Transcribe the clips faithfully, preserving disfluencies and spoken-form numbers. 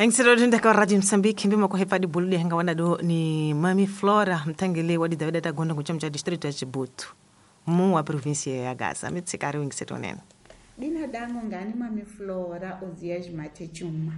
Engiselo ka Radio Mozambique mbima ko hepa dibulule hanga wana do ni Mami Flora mtangele wa Davida Tagondo kuchama cha district ya Chibutu mu wa province ya Gaza mitsikari wingiselo nene. Dina dango ngani Mami Flora Ozias Matechuma.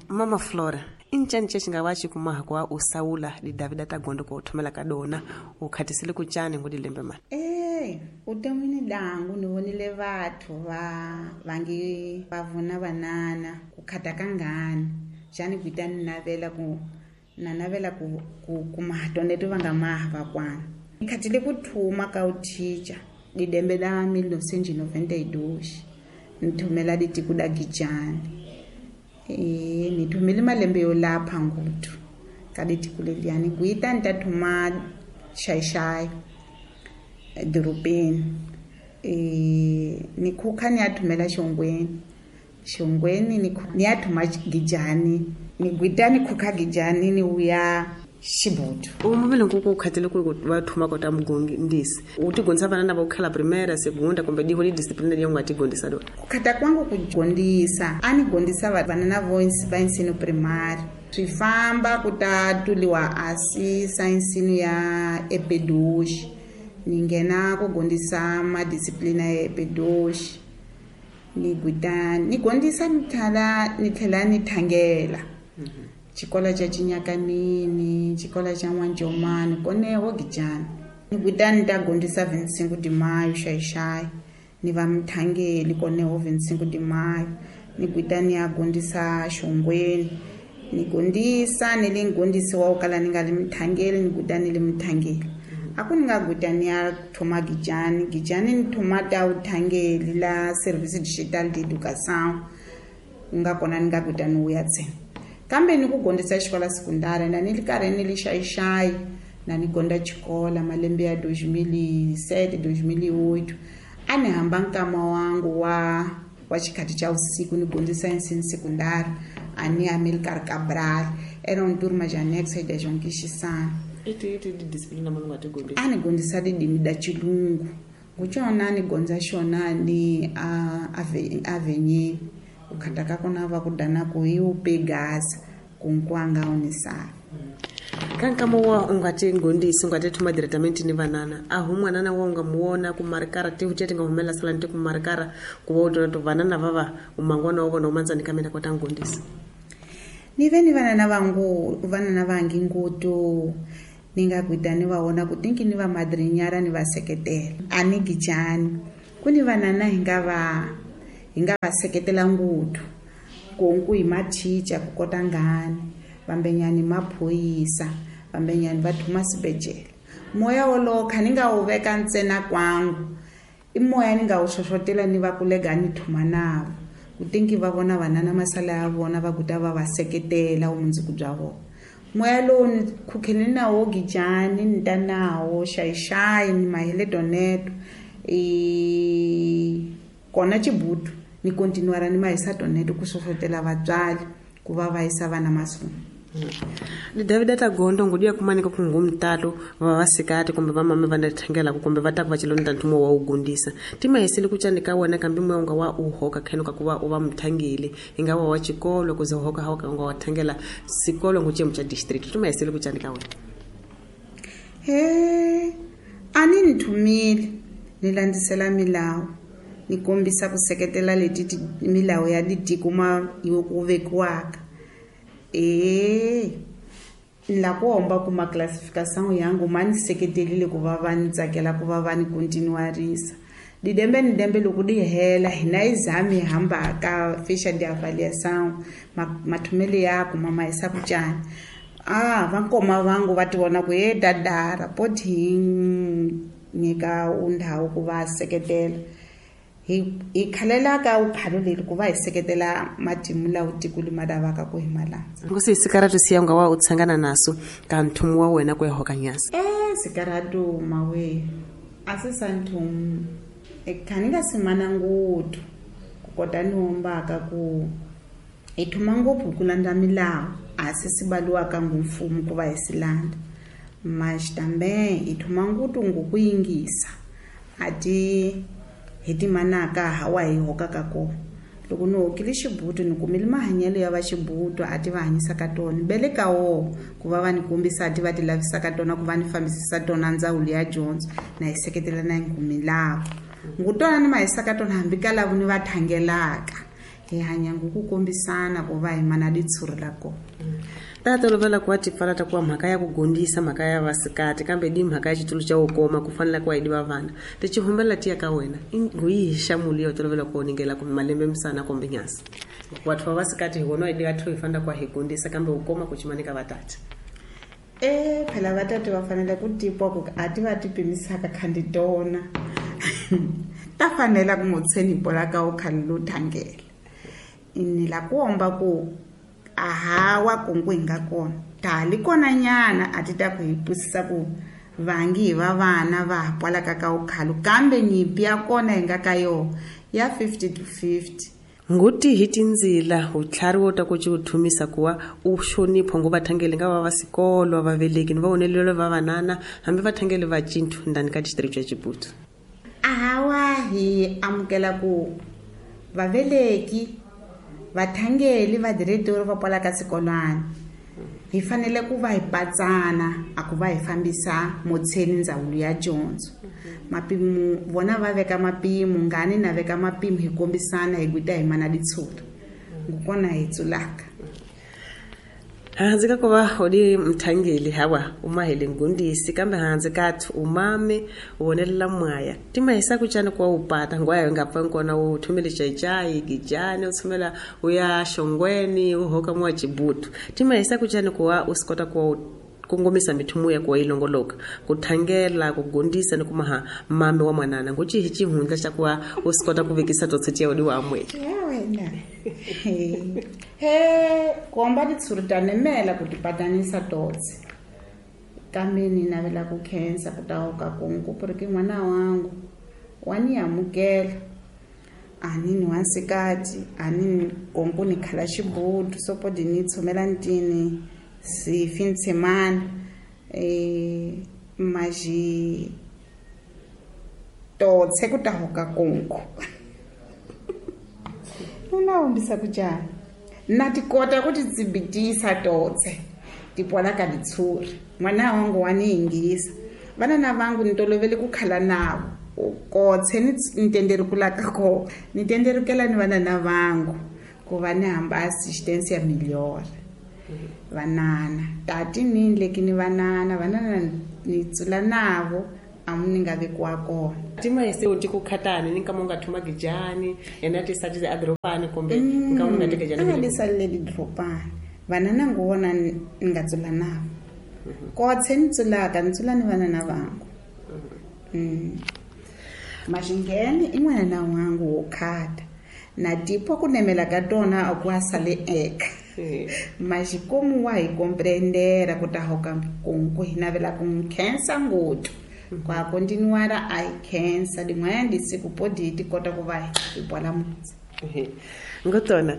Mama Flora inchani chingawachi kumaha kwa usaula di Davida Tagondo ko thomela kadona ukhatisile kuchani ngodilembe mani. Eh utomini dangu nivonile vathu va vangi vavuna vanana kukhata kangani xani kuita ni navela ku na navela ku ku kuma toneto vanga maha vakwana nikhatile ku thuma ka uthicha didembe la mil novecentos e noventa e dois nithumela ditiko da Gijani e nithumile malembe yo lapha nguthu ka ditiko leliyani kuita nitathuma xaixai edorobeni e nikhukha ni ya thumela xongweni xongweni ni ni ya thuma Gijani ni gwita ni khukha Gijani ni uya Xibutu. Umuvile nkuku ukhatele ku va thuma kota mugongi ndisi utigondisa vana va ukhala primaire segunda kumbe diho li discipline ya unga tigondisa do kukhata kwangu kugondisa ani gondisa vana na voice va ensino primary swifamba kutatuliwa asi science ya epedoshi ni nghena ku gondisa madisciplina ya epedoshi ni gwita ni gondisa ni tlhela ni tlhela ni thangela xikolo xa Chinyakanini xikolo xa N'wanjomani koneho Gijani ni gwita ni ta gondisa vinte e cinco de maio xaixai ni va mthangeli koneho vinte e cinco de maio ni gwita ni ya gondisa xongweni ni gondisa ni le ngondisi wa kala ni nga le mthangeli ni gwita ni le mthangeli a ku ni nga gwita ni ya thoma Gijani Gijani ni thoma ta uthangeli la service digital de educação nga kona ni nga gwita ni wuya ntsena kambe ni ku gondisa xikola sekundari na ni li karhi ni li xaixai na ni gonda xikola malembe ya dois mil e sete dois mil e oito a ni hamba nkama wangu wa wa xikhathi xa usiku ni gondisa ensino sekundari a ni Amilcar Cabral era um turma de anexo de João Quixissana iti iti di disciplina mani nga ti gondisa a ni gondisa tidimi da xilungu ngucona ni gondza xona ni a avenye ukhata ka kona va ku dana ku yi u pegaza ku nkwanga unisana kankama wa u nga ti gondisi u nga ti thuma directamente ni vanana a hu mwanana wa u nga muona ku marikara ti u ti nga humela salani ti ku marikara ku va u tona to vanana va va u mangwana wa vona u mandzani ka mina kota ngondisa ni ve ni vanana vangu vanana vangi ngutu ni nga gwita ni va vona ku tinki ni va madrinyara ni va seketela a ni Gijani ku ni vanana hi nga va hi nga va seketela nguthu konku hi mathicha ku kota ngani vambenyani maphoyisa vambenyani va thuma sibejele moya wolowo kha ni nga wu veka ntsena kwangu i moya ni nga wu xoxotela ni va kulega ni thuma navo ku tinki va vona vanana masala ya vona va kuta va va seketela vumundzuku bya vona moya lowu ni khukhele nawo Gijani ni ta nawo xaixai ni mahele toneto i kona Chibutu ni continuara ni mahisa toneto ku xoxotela vatswari ku va va yisa vana mahlweni. Ni Davida Tagondo ngudia kumanika ku ngumtalo va vasikati kumbe va mame va thangela kumbe va ta ku va chilonda nthumo wa ugundisa timahisile ku chanika wena kambe moya unga wa uhoka kheno ka kuva u va mthangeli inga wa wa xikolo kuze hoka hoka unga wa thangela sikolo nguchemu cha district timahisile ku chanika wena. He ani nithumile ni landzisela milawu ni kombisa ku seketela leti milawu ya ditiko ma yo ku vekiwaka e la ku homba kuma classification yangu ma ni seketelile ku va va ni tsakela ku va va ni continuarisa didembe ni dembe loko di hela hina exame hamba ka ficha de avaliação mathumele ya ku mama isa ku tjani ah va nkoma vangu va ti vona ku ye dadara poti nyika undhawu ku va seketela hi hi khalela ka uphalo leri ku va hi seketela matimu lawo tiko lima lavaka ku hi malandza nkosi sikaratu siya unga wa u tshangana naso ka nthumu wa wena ku hoka nyasa eh sikaratu mawe a se sa nthumu e khani nga simana nguthu ku kota ni hombaka ku hi thuma ngopfu ku landza milawu a se sibaliwaka ngumfumo ku va hi silanda mas também hi thuma nguthu ngoku yingisa a ti hi timanaka hawa hi hokaka kona Loko ni hokile xibutu ni kumile mahanyelo ya va xibutu a ti va hanyisaka tona bele ka wo ku va va ni kombisa a ti va ti lavisaka tona ku va ni fambisisa tona ndzawulo ya dyondzo na yi seketela na ngumilavo ngutona ni mahisaka tona hambi ka lavo ni va thangelaka hi hanya ku kombisana ku va hi mana ditshuri la kona. Ta tolovela ku wa tipfala ta kuva mhaka ya ku gondisa mhaka ya vasikati kambe di mhaka ya xitulu xa wukoma ku fanela ku wa yi diva vana tichihumbela tiya ka wena i yihi xamulu ya tolovela ku oningela kumbe malembe misana kumbe nyasi vathu va vasikati hi vona hi diva thu hi fanela ku wa hi gondisa kambe wukoma ku cimani ka vatata. E phela vatati va fanele ku tipwa ku a ti va ti pimisaka khandi tona ta fanela ku mutsheni pola ka u khali lo thangela ni la ku omba ku ahawa kungu hi nga kona ta li kona nyana a ti ta ku hi twisisa ku vangi hi va vana va ha pwalaka ka ukhalu kambe nyimpi ya kona hi nga ka yo ya fifty to fifty. Nguti hi tindzila utlhari wo ta ku ci uthumisa kuwa u xonipho ngo vathangeli nga va va sikolo va veleki ni va onelelo va vanana hambi vathangeli va cinthu ndani ka district ya Chibutu. Ahawa hi amukela ku vaveleki vathangeli va diretori va pwalaka sekolwana hi fanele ku va hi patsana a ku va hi fambisa motsheni ndzawulo ya dyondzo. Mapimo vona va veka mapimo ngani na veka mapimo hi kombisana hi gwita hi mana ditshuri ngukona hi tsulaka. Hanzi ka kuva odi mthangeli hawa umahele ngundisi kambe hanzi kathi umame ubonelela mwaya timahisa kuchana kwa upata ngwayo ngapfa nkona u thumele chaichai gijani uthumela uya shongweni uhoka mwa Chibutu timahisa kuchana kwa usikota kwa kongomisa mithumu ya kwa ilongoloka kuthangela kugondisa ni kumaha mame wa mwanana nguchi hichi hundla xa kuwa usikota kuvekisa totsetia odi wa amwe ya wena he komba ditshuri ta nemela ku tipatanisa totse kambe ni navela ku khensa ku ta ka kungu porque n'wana wangu wa ni amukela a ni ni wansikati a ni konku ni khala xibutu sopodi ni tshumela ntini si fim de semana eh maji totse ku ta hoka konku nna hombisa ku jana na tikota ku titsibitisa totse tipwala ka ditshuri n'wana wangu wa ni yingisa vana na vangu ni tolovele ku khala navo kotse ni ntenderi ku laka ko ni tenderikela ni vana na vangu ku va ni hamba assistance ya melhor vanana tati ni leki ni vanana vanana ni tsula navo amu ni nga vekiwa kona. Timahise u ti ku khatani ni nkama u nga thuma gijani yena ti satise edorobani kumbe nkama u nga teka jani a li salele didorobani vanana ngona ni nga tsula navo kotse ni tsulaka ni tsula ni vanana vangu. Maxingheni i n'wana na wangu wo khata na tipo ku nemela ka tona a ku a sale eka maxikomu wa hi komprendera ku ta hoka kunku hi navela ku n'wi khensa ngopfu kwa continuara a hi khensa din'wanyana disiku podi ti kota ku va hi bola mutsi. Ngotona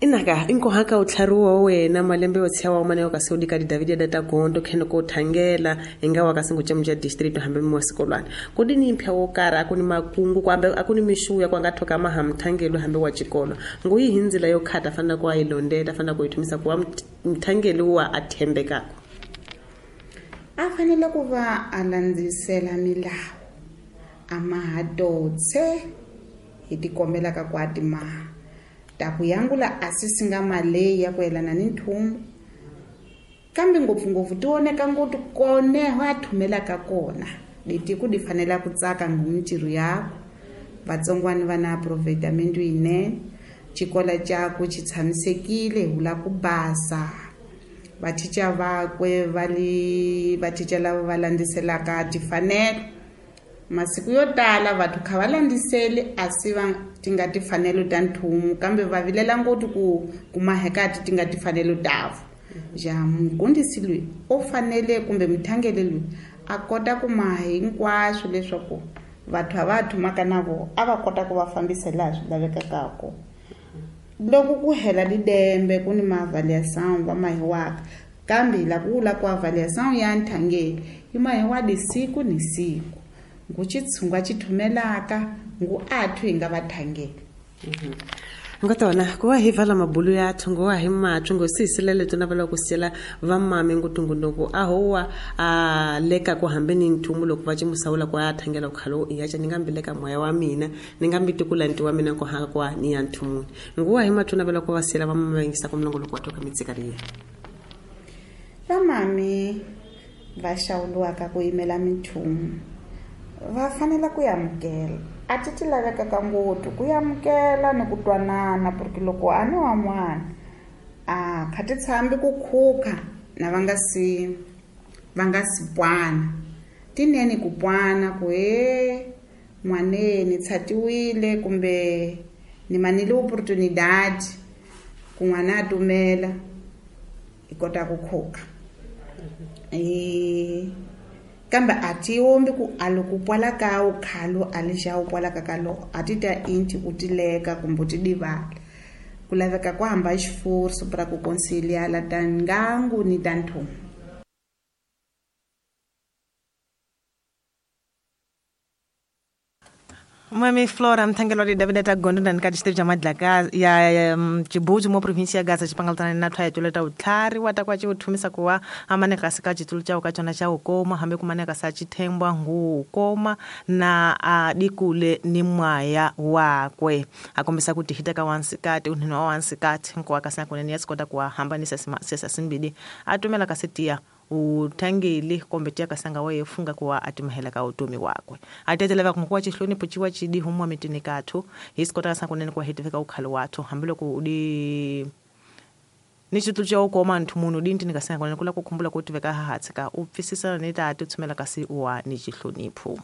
inaka inkohaka utlhari wa wena malembe yo tshiya wa mana yo ka se ka di David data gondo khene ko thangela inga wa ka singu cha district hambe mo sekolwana ku di ni mpya wo kara aku ni makungu kwambe aku ni mishuya kwa nga thoka mahamthangelo hambe wa tshikolo nguyi hinzila yo khata fana kwa ilondeta fana ku ithumisa kwa mthangelo wa athembekako a fanele ku va a landzisela milawu a mahadotse hi tikombelaka kwa timaha ta ku yangula a si nga maleyi ya ku yelana ni nthumu kambe ngopfungopfu ti oneka ngopfu koneho a thumelaka kona leti ku di fanela ku tsaka ngumintirho yakwe vatsongwani va na aproveitamento yinene xikola xakwe xi tshamisekile hi vula ku basa vathicha vakwe va li vathicha lava va landziselaka tifanelo masiku yo tala vathu kha va landziseli a si va ti nga tifanelo ta nthumu kambe va vilela ngopfu ku kumahekati ti nga tifanelo tavo ja mugundisi loyi u fanele kumbe muthangeli loyi a kota ku maha hinkwaswo leswaku vathu a va thumaka na vona a va kota ku va fambisa laha swi lavekaka kona loko ku hela lidembe ku ni maavaliação va mahiwaka kambe hi la ku vula ku avaliação ya nthangeli yi mahiwa disiku ni siku ngu xitshungu a xi thumelaka ngu athu hi nga vathangeli. Ngotona kuwa hi vala mabulu ya thongo wa hi mathu ngo sisilele tona vala ku sela va mame ngutungu a howa a leka ku hambe ni nthumu loko va cimusawula ku a thangela ku khalo ya cha ni nga mbileka moya wa mina ni nga mbitikula nti wa mina ku haka kwa ni ya nthumuni nguwa hi mathu na vala ku va sela va mame ngisa ku mlongo loko wa toka mitsikariya va mame va xawuliwaka ku yimela minthumu va fanele ku yamukela a ti ti laveka ka ngopfu ku yamukela ni ku twanana porque loko a ni wa n'wana a kha ti tshambi ku khukha na va nga si va nga si pwana tinene ku pwana ku he n'waneni tshatiwile kumbe ni manile opportunidade ku n'wana a tumela i kota ku khukha e kambe a ti ombi ku a loko pwala ka u khalo a lexa u pwala ka kalo a ti ta inti u tileka kumbe u ti divala ku laveka ku hamba xiforso pra ku conciliar ta ngangu ni ta nthumu. Mami Flora mthangelo di David ta gondo na nkati xitevi xa madlaka ya Chibuzi mo province ya Gaza xipangalutana na thwa ya ta utlhari wa ta kwa ci uthumisa kuwa amane kasi ka xitulu xa ka tsona xa ukoma hambe kumane ka sa xithembwa ngu koma na a dikule ni mwaya wakwe a kombisa ku tihita ka wansikati unhino wa wansikati nkowa ka sankunene ya sikota kuwa hambanisa sesa simbili a tumela ka setiya uthangeli kombe tia kasanga waye funga kuwa atimhela ka utomi wakwe ateteleva kunkuwa chihlonipho chiwa chidi humwa mitini kathu hisikota sankunene kwa hitiveka ukhalo wathu hambiloko udi ni xitulu xa ukoma nthu munhu di ntini kasanga kunene kula kukhumbula ku tiveka hahatsika u pfisisana ni tati u tshumela kasi wa ni xihlonipho.